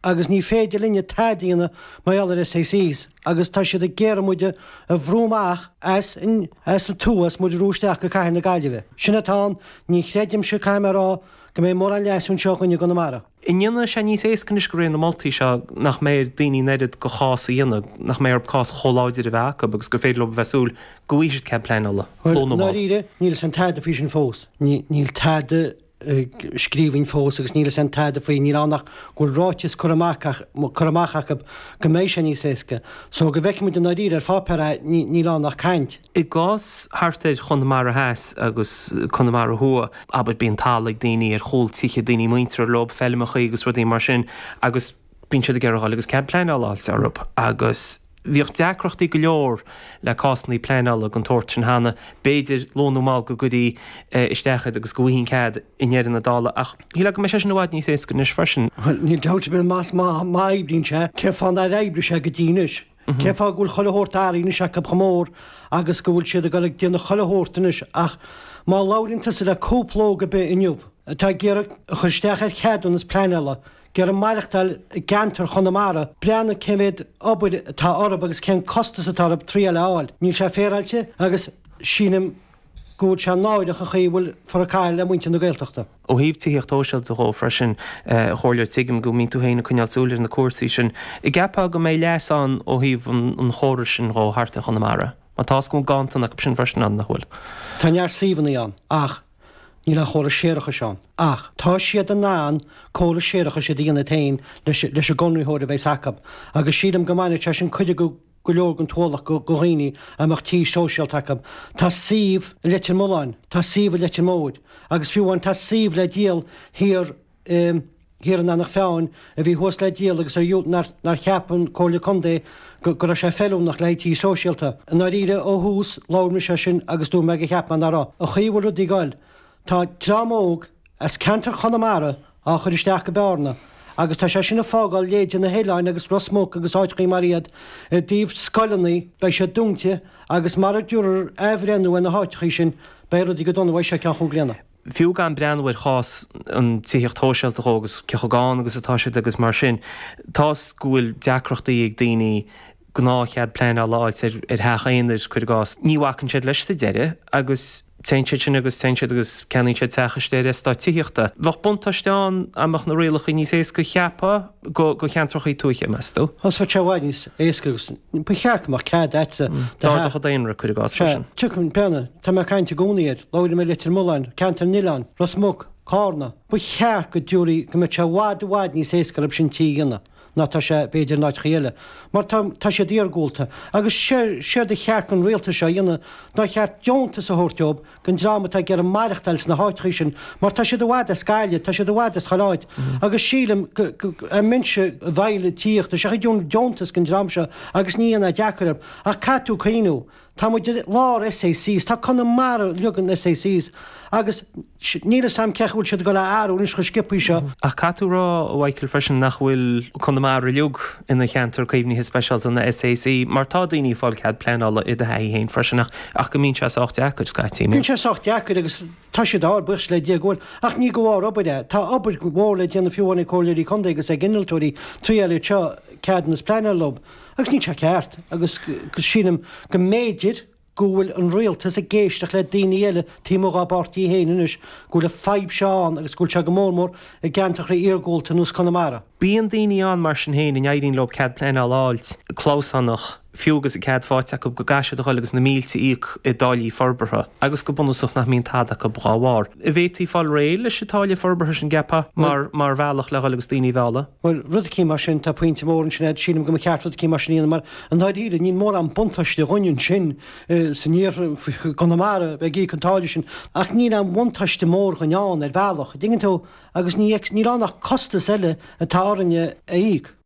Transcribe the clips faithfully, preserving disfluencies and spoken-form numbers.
agus ní féidir linne tada a dhéanamh mar gheall ar SACs agus tá siad ag iarraidh muid a bhrú amach as an as an tuath is muid a bhrú isteach go cathair na Gaillimhe. Sin atá ann, ní chreidimse caithfidh mé a rá go mbeidh mórán leasú anseo againn i gConamara. An ndéanfaidh sé níos éasca anois de réir na moltaí seo nach mbeidh ar daoine an oiread de chás a dhéanamh, nach mbeidh orthu cás chomh láidir a bheith acu agus gur féidir leo a bheith súil go bhfaighidh siad cead pleanála. Bhuel, i ndáiríre, níl a fhios a'm tada faoi sin fós. Níl tada scríbhinn fós agus níl a fhios a'm tada faoi, níl ann ach go bhfuil ráiteas curtha amach curtha amach acu go mbeidh sé níos éasca. So go bhfeicfidh muid i ndáiríre ar pháipéar é, níl ann ach caint. I gcás thart ar Chonamara Theas agus Conamara Thuaidh, abair, bíonn talamh ag daoine ar chúl tithe, daoine muinteartha leo, feilmeachaí agus rudaí mar sin agus bíonn siad ag iarraidh a dhul agus cead pleanála a fháilt orthu agus bhíodh deacrachtaí go leor le cásanna pleanála den tsórt sin cheana. B'fhéidir, luath nó mall, go gcuirfí isteach iad agus go bhfaighfí an cead i ndeireadh na dála ach shílfeá go mbeidh sé sin i bhfad níos éasca anois freisin. Bhuel, níl dabht ar bith más má má oibríonn sé, cén fáth nár oibrigh sé go dtí anois? Cén fáth go bhfuil chuile shórt athraithe anois acu chomh mór agus go bhfuil siad ag dul ag déanamh chuile shórt anois ach má labhraíonn tusa le cúpla óg ar bith inniu atá ag iarraidh a chur isteach ar cheadúnas pleanála, ag iarraidh maireachtáil i gceantar Chonamara, breathnaigh cé mhéad obair atá orthu agus cén costas atá orthu triail a fháil. Níl sé féaráilte agus sílim go bhfuil sé náireach an chaoi a bhfuil fear ag caitheamh le muintir na Gaeltachta. Ó thaobh tithíocht shóisialta dhó freisin, a Chomhairleoir, tuigim go mbíonn tú féin ag coinneáil súil ar na cúrsaí sin. An gceapfá go mbeidh leas ann ó thaobh an chórais sin dhó thart ar Chonamara? Mar tá 's go bhfuil ganntan acu sin freisin ann, nach bhfuil? Tá neart suíomhanna ann ach níl aon chóras séarachais ann. Ach tá siad in ann córas séarachais a dhéanamh féin leis leis an gconraitheoir a bheas acu agus sílim go mbainfeadh sé sin cuid go go leor den t-ualach go dhaoine a mbeadh tí sóisialta acu. Tá suíomh i Leitir Mealláin, tá suíomh i Leitir Móir agus fiú amháin tá suíomh le díol thiar i thiar in Eanach Mheáin a bhí thuas le díol agus ar nár nár cheap an Comhairle Contae go go raibh sé feiliúnach le haghaidh tí sóisialta. I ndáiríre ó thús labhair mise as sin agus dúirt mé go cheap mé ná raibh. An chaoi a bhfuil rudaí ag goil, tá dream óg as ceantar Chonamara á chur isteach go Bearna agus tá sé sin ag fágáil leithéide na hoileáin agus Ros Muc agus áiteachaí mar iad i dtaobh scoileanna, beidh siad dúnta agus mara dtabharfar athbhreithniú ar na háiteachaí sin beidh rudaí go dona uaidh seo ceann chúig bliana. Fiú gan breathnú ar chás an tithíocht shóisialta dhó agus cé chomh gann agus atá siad agus mar sin, tá's go bhfuil deacrachtaí ag daoine gnáthchead pleanála a fháilt ar theach aonair, cuir i gcás. Ní bhacann siad leis sa deireadh agus téann siad sin agus téann siad agus ceannaíonn siad teach istigh ar eastát tithíochta. Bheadh buntáiste ann dá mbeadh na rialacha níos éasca, cheapfá, go cheantracha tuaithe, meas tú? Bheadh sé i bhfad níos éasca agus ba cheart go mbeadh cead agatsa do theach. D'ardódh an daonra, cuir i gcás, freisin. Sea, tiocfaidh, breathnaigh, tá mé ag caint i gcónaí air, labhair mé Leitir Mealláin, Ceantar na nOileán, Ros Muc, Cárna. Ba cheart go dtabharfaí, go mbeadh sé i bhfad, i bhfad níos éasca orthu sin tí a dhéanamh. ná tá sé, b'fhéidir, in áiteachaí eile, mar tá, tá siad iargúlta. Agus séard a cheart don rialtas seo a dhéanamh, ná cheart deontas a thabhairt dóibh, don dream atá ag iarraidh maireachtáil sna háiteachaí sin, mar tá siad i bhfad as Gaillimh, tá siad i bhfad as chuile áit. Agus sílim go, go, dá mbeinnse i bhfeighil tithíochta, seachas deontas don dream seo agus ní dhéanfá deacair orthu. Ach caithfidh tú cuimhniú, Tá muid i lár SACs, tá Conamara uilig in SACs agus níl fhios a'm cé chaoi bhfuil siad ag dul a athrú anois chomh sciobthaí seo. Ach caithfidh tú a rá, a Mhichael, freisin nach bhfuil Conamara uilig ina cheantar caomhnaithe speisialta ina SAC mar tá daoine ag fáil cead pleanála i do thaithí féin freisin ach ach go mbíonn sé sách deacair scaití. Bíonn sé sách deacair agus tá siad á fháil, buíochas le Dia go bhfuil, ach ní de bharr obair é. Tá obair mhór le déanamh fiú amháin ag comhairleoirí contae agus ag innealtóirí triail iad seo ceadúnas pleanála leo. Agus níl sé ceart, agus sílim go mb'fhéidir go bhfuil an rialtas ag éisteacht le daoine eile taobh amuigh dá bpáirtí féin anois, go bhfuil an fadhb seo ann agus go bhfuil sé go mór mór i gceantracha iargúlta ar nós Conamara. Bíonn daoine ann mar sin féin a n-éiríonn leo cead pleanála a fháilt, clamhsánach, fiú agus an cead faighte acu, go gcaithfidh siad a dhul agus na mílte a íoc i dtáillí forbartha agus go bunúsach nach mbíonn tada acu dhá bharr. An bhféadfaí fáil réidh leis an táille forbartha sin, gceapfá, mar mar bhealach le dhul agus daoine a mhealladh? Bhuel, rud eicínt mar sin, tá pointe mór ansin agat, sílim go mba cheart rud eicínt mar sin a dhéanamh mar, i ndáiríre, níl mórán buntáiste dhúinn ansin san iarthar, i gConamara, a bheith ag íoc an táille sin, ach níl aon bhuntáiste mór dhúinn ann ar bhealach, an dtuigeann tú, agus ní, níl ann ach costas eile atá orainne a íoc.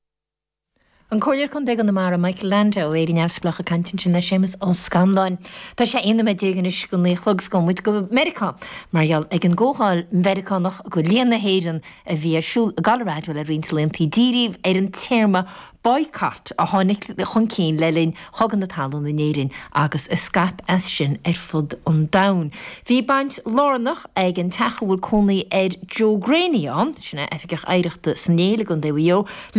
An Comhairleoir Contae Chonamara Michael Landau ó Éire Neamhspleách ag caint ansin le Séamus Ó Scanláin. Tá sé aon nóiméad déag anois go naoi a chlog 's gabhfaidh muid go Meiriceá mar gheall ag an gComhdháil Mheiriceánach do Léann na hÉireann a bhí ar siúl i gColorado le roinnt laethanta. Díríodh ar an téarma boycott a tháinig chun cinn le linn Chogadh na Talún in Éirinn agus a scaip as sin ar fud an domhain. Bhí baint lárnach ag an teach a bhfuil cónaí ar Joe Greaney ann, sin é Oifigeach Oidhreachta san Éill i gContae Mhaigh Eo,